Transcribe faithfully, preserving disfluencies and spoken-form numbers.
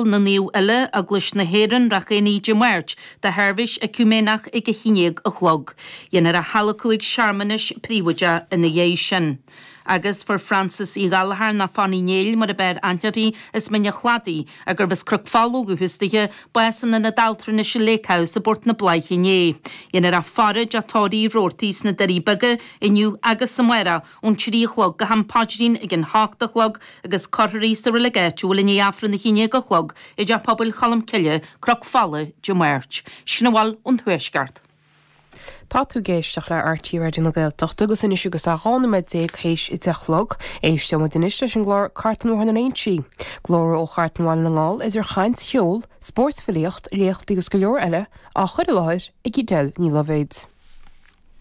na Naomh Uile, Eaglais na hÉireann, Ráth Éanaigh Dé Máirt, do sheirbhís eiciúiméineach ag a haon déag a chlog. Dhéanfar a hadhlacadh ag searmanas príobháideach ina dhiaidh sin. Agus fuair Frances Uí Ghallchóir nó Fanny Néill mar a b'fhearr aithne uirthi as Mín an Chladaigh, a gurbh as Cnoc Fola ó dhúchas dithe, bás in Ionad Altranais Lake House i bPort na Bláiche inné. Dhéanfar a faire i dTeach Tórraimh Roarty sna Doirí Beaga inniu agus amárach ón trí a chlog go ham paidrín ag an hocht a chlog agus cuirfear í sa reilig áitiúil i ndiaidh Aifreann a haon déag a chlog i dTeach Pobail Cholm Cille, Cnoc Fola, Dé Máirt. Sin a bhfuil ón Tuaisceart. Tá tú ag éisteacht le RTÉ Raidió na Gaeltachta agus anois agus é dhá nóiméad déag théis a deich a chlog, éisteoimid anois leis an gclár Cartlann Bhóthar na nInsí. Glór ó Chartlann Bhaile na nGall idir chaint cheol, spórt filíocht, léachtaí agus go leor eile á chur i láthair ag Edel Ní Loibhéad.